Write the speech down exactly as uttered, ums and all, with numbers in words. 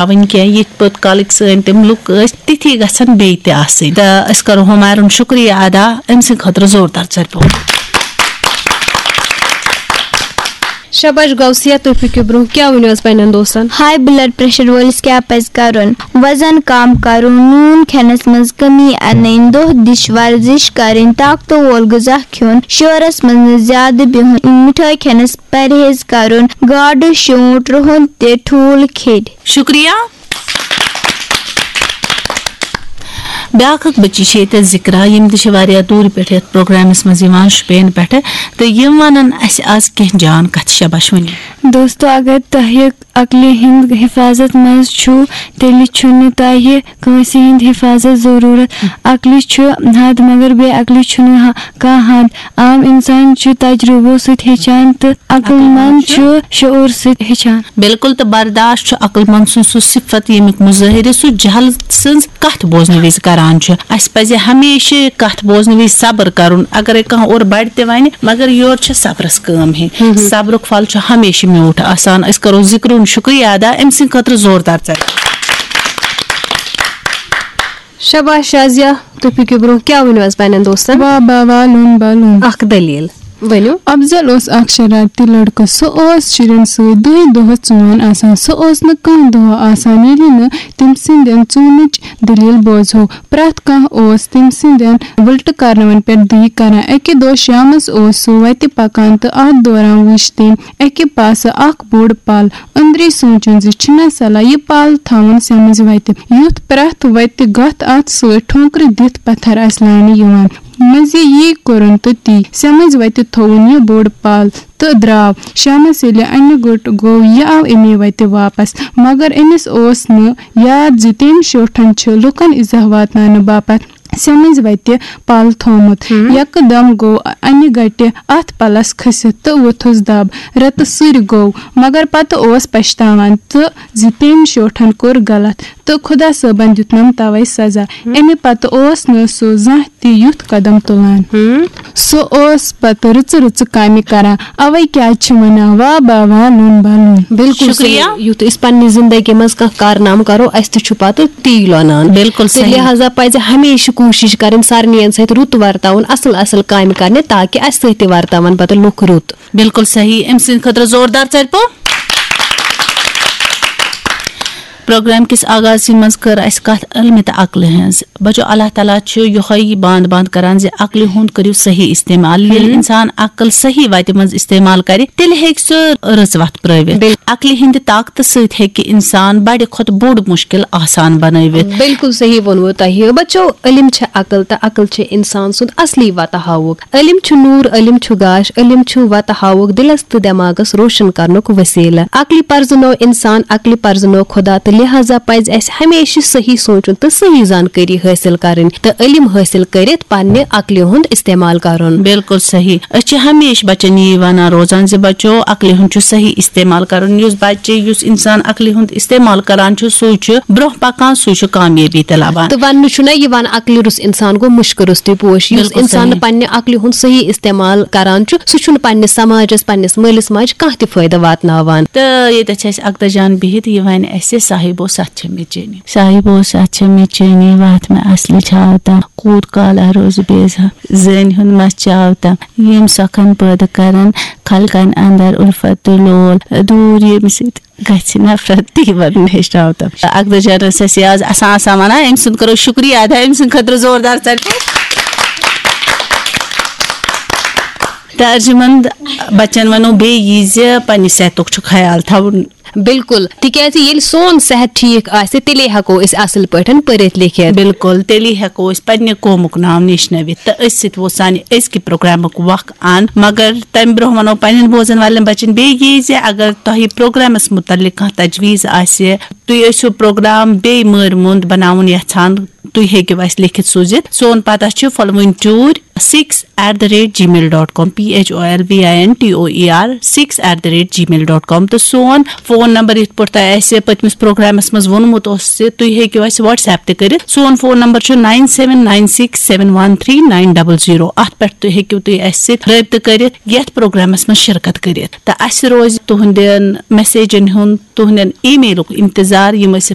تھاوٕنۍ کینٛہہ، یِتھ پٲٹھۍ کالٕکۍ سٲنۍ تِم لُکھ ٲسۍ، تِتھی گژھن بیٚیہِ تہِ آسٕنۍ۔ تہٕ أسۍ کرو ہُمایرُن شُکریہ ادا أمۍ سٕنٛدِ خٲطرٕ زوردار ژَرِ پوٚپ۔ شاباش غوثیہ، تُہۍ پٔکِو برونٛہہ، کیٛاہ ؤنِو حظ پننٮ۪ن دوستن؟ ہاے بلڈ پریشر وٲلِس کیٛاہ پزِ کرُن؟ وزن کم کرُن، نوٗن کھٮ۪نس منٛز کمی انٕنۍ، دۄہ دِش ورزش کرٕنۍ، طاقتہٕ وول غذا کھیوٚن، شورس منٛز نہٕ زیادٕ بِہُن، مِٹھٲے کھٮ۪نس پرہیز کرُن، گاڈٕ، شونٛٹھ، رُہُن تہٕ ٹھوٗل کھیٚنۍ۔ شُکریہ۔ بیٛاکھ اکھ بٔچی چھِ ییٚتہِ ذِکرا، یِم تہِ چھِ واریاہ دوٗرِ پٮ۪ٹھ یَتھ پروگرامَس منٛز یِوان، شُپین پٮ۪ٹھٕ، تہٕ یِم وَنَن اَسہِ آز کینٛہہ جان کَتھٕ۔ شاباش ؤنِو۔ دوستو، اگر تۄہہِ عقلہِ ہِنٛد حفاظت منٛز چھُو، تیٚلہِ چھُنہٕ تۄہہِ کٲنٛسہِ ہِنٛد حفاظت ضروٗرت۔ عقلہِ چھُ حد، مگر بے عقلہِ چھُنہٕ ہا-، کانٛہہ حد۔ عام اِنسان چھُ تجرُبو سۭتۍ ہیٚچھان تہٕ عقل مند چھُ شعوٗر سۭتۍ ہیٚچھان۔ بِلکُل، تہٕ برداشت چھُ عقل مند سُنٛد سُہ صفت، ییٚمیُک مظٲہرٕ سُہ جہل سٕنٛز کتھ بوزنہٕ وِزِ کران چھُ۔ اَسہِ پزِ ہمیشہِ کتھ بوزنہٕ وِزِ صبر کرُن، اگرے کانٛہہ اورٕ بڑِ تہِ ونہِ، مگر یورٕ چھِ صبرس کٲم ہیٚنۍ۔ صبرُک پھل چھُ ہمیشہِ میوٗٹھ آسان۔ أسۍ کرو ذِکرُن شُکریہ ادا أمۍ سٕنٛدِ خٲطرٕ زوردار ژَرِ۔ شاباش شازیہ، تُہۍ پٔکِو برونٛہہ، کیٛاہ ؤنِو حظ پننٮ۪ن دوستن؟ واہ با والُن بالُن۔ اکھ دٔلیٖل۔ ؤنِو۔ افضل اوس اکھ شرارتی لڑکہٕ۔ سُہ اوس شُرٮ۪ن سۭتۍ دۄہے دۄہس ژون آسان۔ سُہ اوس نہٕ کانٛہہ دۄہ آسان، ییٚلہِ نہٕ تٔمۍ سٕنٛدٮ۪ن ژونٕچ دٔلیٖل بوزہو۔ پرٛٮ۪تھ کانٛہہ اوس تٔمۍ سٕنٛدٮ۪ن وٕلٹہٕ کرناون پٮ۪ٹھ دٕے کران۔ اَکہِ دۄہ شامس اوس سُہ وتہِ پکان تہٕ اتھ دوران وُچھ تٔمۍ اَکہِ پاسہٕ اکھ بوٚڑ پل۔ أنٛدری سونٛچُن زِ چھُنا صلاح یہِ پل تھاوُن سیٚمٕزِ وتہِ، یُتھ پرٛٮ۪تھ وتہِ گتھ اتھ سۭتۍ ٹھونکرِ دِتھ پتھر آسہِ لاینہٕ یِوان۔ مٔنٛزۍ یی کوٚرُن تہٕ تی سیٚمٕزِ وتہِ تھووُن یہِ بوٚڑ پل تہٕ درٛاو۔ شامس ییٚلہِ انہِ گوٚٹ گوٚو، یہِ آو اَمے وتہِ واپس، مگر أمِس اوس نہٕ یاد زِ تٔمۍ شیوٹھن چھِ لوٗکن ایزا واتناونہٕ باپتھ سیٚمٕزِ وتہِ پل تھوومُت۔ یکہٕ دم گوٚو انہِ گٹہِ اتھ پلس کھٔسِتھ تہٕ ووٚتھُس دب۔ رتہٕ سُرِ گوٚو، مگر پتہٕ اوس پچھتاوان تہٕ زِ تٔمۍ شیوٹھن کوٚر غلط تہٕ خدا صٲبن دیُتنم توے سزا۔ امہِ پتہٕ اوس نہٕ سُہ زانٛہہ تہِ یُتھ قدم تُلان۔ سُہ اوس پتہٕ رٕژٕ رٕژٕ کامہِ کران۔ اوے کیٛازِ چھِ ونان، واہ با واہ لوٚن با لوٚن۔ بِلکُل شُکریہ۔ صحیح۔ یُتھ أسۍ پننہِ زندگی منٛز کانٛہہ کارنامہٕ کرو، اسہِ تہِ چھُ پتہٕ تی لونان۔ بِلکُل تہٕ صحیح۔ لہذا پزِ ہمیشہِ کوٗشِش کرٕنۍ سارنٕے سۭتۍ رُت ورتاوُن، اصل اصل کامہِ کرنہِ، تاکہِ اسہِ سۭتۍ تہِ ورتاون پتہٕ لُکھ رُت۔ بِلکُل صحیح۔ أمۍ سٕنٛدِ خٲطرٕ زوردار ژَرِ پوٚپ۔ پروگرام کِس آغازسٕے منٛز کٔر اَسہِ کَتھ علمہِ تہٕ عقلہِ ہٕنٛز۔ بچو، اللہ تعالیٰ چھُ یِہوٚے باند باند کران زِ عقلہِ ہُنٛد کٔرِو صحیح استعمال۔ ییٚلہِ ہم۔ اِنسان عقل صحیح وَتہِ منٛز استعمال کرِ، تیٚلہِ ہیٚکہِ سُہ رٕژ وَتھ پرٛٲوِتھ۔ بِل- عقلہِ ہِنٛدِ طاقتہٕ سۭتۍ ہیٚکہِ اِنسان بڑِ کھۄتہٕ بوٚڑ مُشکِل آسان بنٲوِتھ۔ بِلکُل صحیح ووٚنوٕ تۄہہِ۔ بچو، علم چھِ عقل تہٕ عقل چھِ اِنسان سُنٛد اصلی وَتہٕ ہاوُک۔ علم چھُ نوٗر، علم چھُ گاش، علم چھُ وَتہٕ ہاوُک، دِلس تہٕ دٮ۪ماغس روشن کرنُک وسیلہٕ۔ عقلہِ پرزٕنوو انسان، عقلہِ پرزٕنوو خدا، تہٕ لہذا پزِ اسہِ ہمیشہِ صحیح سونچُن تہٕ صحیح زانکٲری حٲصِل کرٕنۍ تہٕ علم حٲصِل کٔرِتھ پننہِ عقلہِ ہُنٛد استعمال کرُن۔ بِلکُل صحیح۔ أسۍ چھِ ہمیشہِ بچن یی ونان روزان زِ بچو، عقلہِ ہُنٛد چھُ صحیح استعمال کرُن۔ یُس بچہِ، یُس انسان عقلہِ ہُنٛد استعمال کران چھُ، سُے چھُ برونٛہہ پکان، سُے چھُ کامیٲبی تہِ لبان۔ تہٕ وننہٕ چھُنہ یِوان، عقلہِ روٚس انسان گوٚو مُشکہٕ روٚستُے پوش۔ یُس بِلکُل انسان صحیح۔ نہٕ پننہِ عقلہِ ہُنٛد صحیح استعمال کران چھُ، سُہ چھُنہٕ پننِس سماجس، پننِس مٲلِس ماجہِ کانٛہہ تہِ فٲیدٕ واتناوان۔ تہٕ ییٚتٮ۪تھ چھِ اَسہِ اقدس جان بِہِتھ، یہِ وَنہِ اَسہِ، صاحب اوس اَتھ چھِ مےٚ چینی۔ صاحب اوس اَتھ چھِ مےٚ چینی، وَتھ مےٚ اصلہِ چھاو تام۔ کوٗت کال روزٕ بیزار، زٲنۍ ہُنٛد مَس چاو تام۔ یِم سۄکھن پٲدٕ کرن خلقن اندر الفت تہٕ لول۔ دوٗر ییٚمہِ سۭتۍ گژھِ نفرت، تی وَنُن ہیٚچھناو تم۔ اقدس جان ٲس اَسہِ یہِ آز آسان آسان وَنان، أمۍ سُنٛد کَرو شُکریہ ادا، أمۍ سٕنٛدِ خٲطرٕ زوردار ژَرِ پوٚپ۔ تہٕ ارجمند بچن وَنو بیٚیہِ یی زِ پننہِ صحتُک چھُ خیال تھاوُن۔ بِلکُل، تِکیازِ ییٚلہِ سون صحت ٹھیٖک آسہِ، تیٚلے ہٮ۪کو أسۍ اصل پٲٹھۍ پٔرِتھ لیکھِتھ۔ بِلکُل، تیٚلی ہٮ۪کو أسۍ پننہِ قومُک ناو نیشنٲوِتھ۔ تہٕ أتھۍ سۭتۍ ووت سانہِ أزکہِ پروگرامُک وق اند۔ مگر تمہِ برونٛہہ ونو پننٮ۪ن بوزن والٮ۪ن بچن بیٚیہِ یی زِ اگر تۄہہِ پروگرامس متعلق کانٛہہ تجویز آسہِ، تُہۍ ٲسِو پروگرام بیٚیہِ مٲرۍ موٚنٛد بناوُن یژھان، تُہۍ ہیٚکِو اَسہِ لیکھِتھ سوٗزِتھ۔ سون پتہ چھُ پھۄلوٕنۍ ٹوٗرۍ six at the rate gmail dot com, P H O L V I N T O E R six at the rate gmail dot com۔ تہٕ سون فون نمبر، یِتھ پٲٹھۍ تۄہہِ اَسہِ پٔتمِس پروگرامس منٛز ووٚنمُت اوس زِ تُہۍ ہیٚکِو اَسہِ WhatsApp تہِ کٔرِتھ۔ سون فون نمبر چھُ nine seven nine six seven one three nine double zero۔ اَتھ پٮ۪ٹھ تُہۍ ہیٚکِو تُہۍ اَسہِ سۭتۍ رٲبطہٕ کٔرِتھ، یَتھ پروگرامس منٛز شرکت کٔرِتھ۔ تہٕ اَسہِ روزِ تُہنٛدٮ۪ن message ن ہُنٛد، تُہنٛدٮ۪ن email ک انتظار، یِم أسۍ